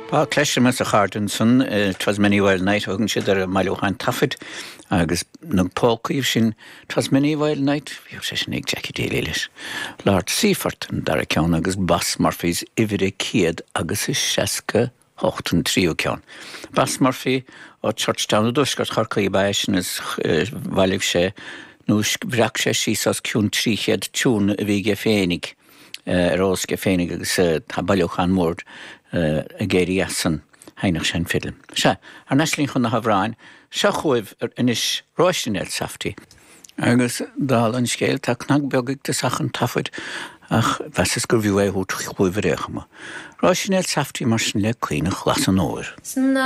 Tá cloisim as a chairde ansan, 'Twas Many a Wild Night a thugann siad ar an mbailiúchán taifid agus na polcaí sin, 'Twas Many a Wild Night, bhíodh sé sin ag Jackie Daly leis. Lord Seafort an dara ceann agus Boss Murphy's uimhir a 168 an tríú ceann. Boss Murphy ó Churchtown i dtuaisceart Chorcaí ab ea eisean is bhailigh sé nó bhreac sé síos os cionn 300 tiún a bhí aige féinig. ar eolas aige féinig agus tá bailiúchán mór ag éirí as san. Sheinneadh sé an fidil. Sea, thar n-ais linn chun na hamhráin. Seo chugaibh anois Róisín Elsafty. Agus dála an scéil, tá cnag beag ag tosach an taifid ach mheasas gurbh fhiú é a thabhairt chugaibh ar aon chuma. Róisín Elsafty mar sin le Caonach Glas an Óir.